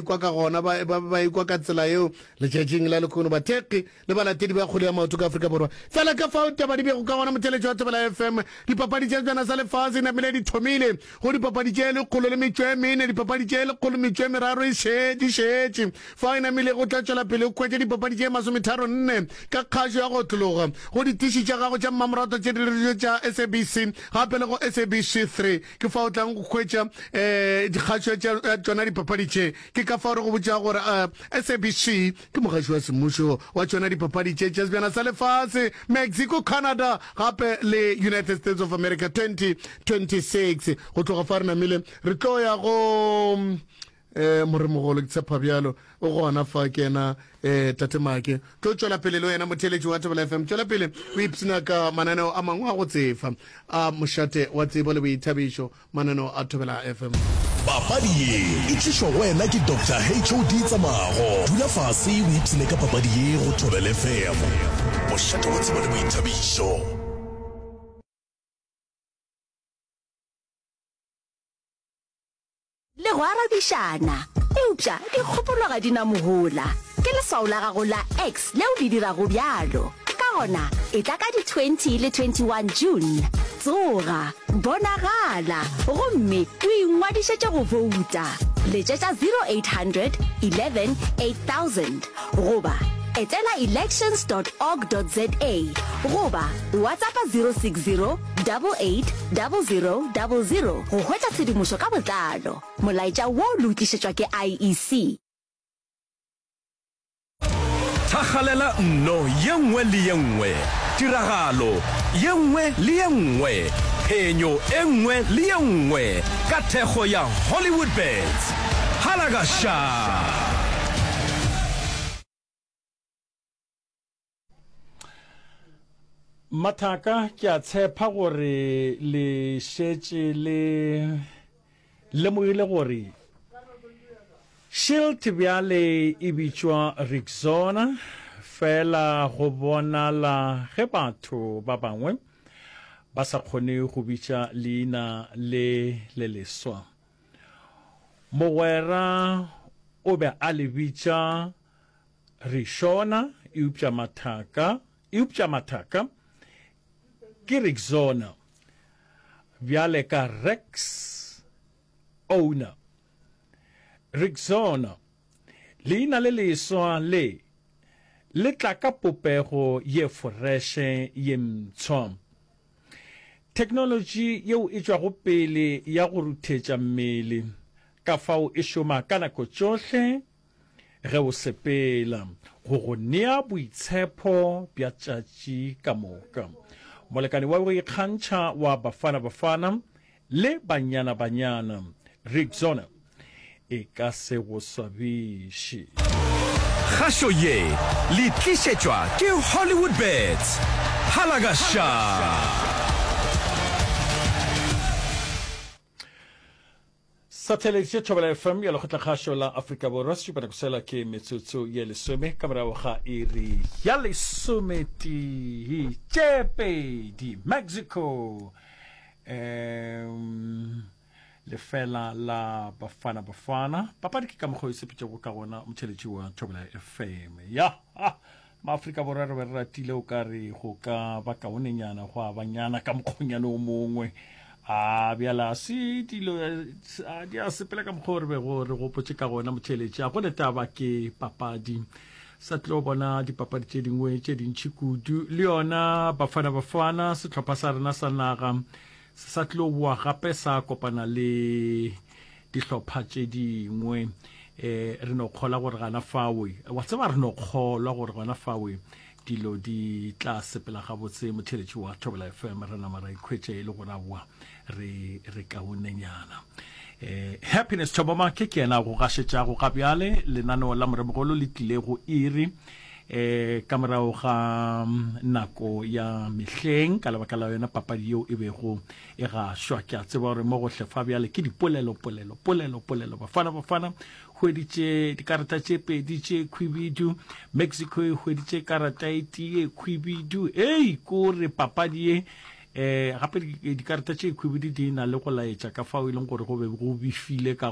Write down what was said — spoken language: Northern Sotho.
Ikwa ka gona, ba, ba, ba ikwa ka tsela yeo letšatšing la lehono, bathekgi le balatedi ba kgwele ya maoto ka Afrika Borwa. Fela ka fao taba di bego ka gona, motheeletši wa Thobela FM, dipapadi tša Sebjana sa Lefase e namile di thomile go dipapadi tše lekgolo le metšo e mene, dipapadi tše lekgolo metšo e meraro e še, di šetše. Fao e namile go tla tšwela pele go hwetša dipapadi tše masometharonne ka kgašo ya go otlologa go ditiši tša gago tša mmamoratwa tše di tša SABC gape le go SABC 3. Ke fao o tlang go hwetša um dikgašo tša tšona dipapadi tše. Ke ka fao re go botšago gore um SABC ke mogaši wa semmušo wa tšona dipapadi tše tša Sebjana sa Lefase, Mexico, Canada gape le United States of America 2026. Go tloga fa re namile re tlo ya go um moremogolo, ke tshepa bjalo o gona fa ke yena um tate Make. Tlo tšwela pele le wena motheeletši wa Thobela FM, tšwela pele o ipshina ka mananeo a mangwe a go tsefa a mošate wa tsebo le boithabišo, mananeo a Thobela FM. Papadi ye e tlišwa go wena ke Doctor HOD Tsamago. Dula fase o ipshine ka papadi ye go Thobela FM, mošate wa tsebo le boithabišo. Le go arabišana. Eupša dikgopolo ga di na mohola. Ke leswao la gago la X leo le dirago bjalo. Ka gona, etla ka di 20 le 21 June. Tsoga, bonagala, gomme o ingwadišetše go bouta. Letšetša 0800 11 8000 goba etela elections dot org dot za goba WhatsAppa 060 88 00 00 go hwetša tshedimošo ka botlalo. Molaetša wo le o tlišetšwa ke IEC. Thakgalela nno ye nngwe le ye nngwe, tiragalo ye nngwe le ye nngwe, phenyo e nngwe le ye nngwe ka thekgo ya Hollywoodbets. Halakasha! Mathaka, ke a tshepa gore le šetše le lemogile gore Shield bjale e bitšwa Rexona, fela go bonala ge batho ba bangwe ba sa kgone go bitša leina le le leswa. Mogwera o be a le bitša Rixona, eupša mathaka, eupša mathaka ke Rixona, bjale ka Rex owner. Rixona, leina le leswa le, le tla ka popego ye foreše ye mpsha. Theknolotši yeo e tšwago pele ya go ruthetša mmele, ka fao e šoma ka nako tšohle, Ge o sepela, go go nea boitshepo bja tšatši ka moka. Molekane wa go ikgantšha wa Bafana Bafana le Banyana Banyana, Rexona, e ka se go swabiše. Kgašo ye le tlišetšwa ke Hollywoodbets. Halakasha! Satellite Thobela FM ya Lekgotlakgašo la Afrika Borwa sešupanako sela ke metsotso ye lesome ka morago ga iri ya lesometee tše pedi Mexico um lefela la Bafana Bafana papadi ke ka mokgwa o e sepetšego ka gona motheletši wa Thobela FM ya ha Maafrika Borwa re be re ratile o ka re go ka ba kaonenyana go a banyana ka mokgonyana o mongwe. A bjale a se dilo a di a sepela ka mokgwa o re bego re gopotše ka gona motheeletši. A go ne taba ke papadi. Sa tlo bona dipapadi tše dingwe tše dintši kudu. Le yona Bafana Bafana sehlopha sa rena sa naga se sa tlo boa gape sa kopana le dihlopha tše dingwe eh re no kgola gore gana fawe wa tseba re no kgolwa gore gona fawe dilo di tla sepela gabotse motheletši wa Thobela FM re nama ra ikhwetša e le gore aowa re re kaonenyana eh Happiness Thobomake ke yena go gašetšago ga bjale lenaneo la moremogolo le tlile go iri eh ka morago ga mm, nako ya mehleng ka lebaka la yona papadi yeo e bego e gašwa. Ke a tseba gore mo gohle fa bjale ke dipolelo, polelo, polelo, polelo. Bafana Bafana hweditše dikarata tše pedi tše khwibidu, Mexico e hweditše karata e tee ye khwibidu. Ei, kore papadi ye eh gape dikarata tše khwibidu di na le go laetša ka fao e leng gore go be go befile ka.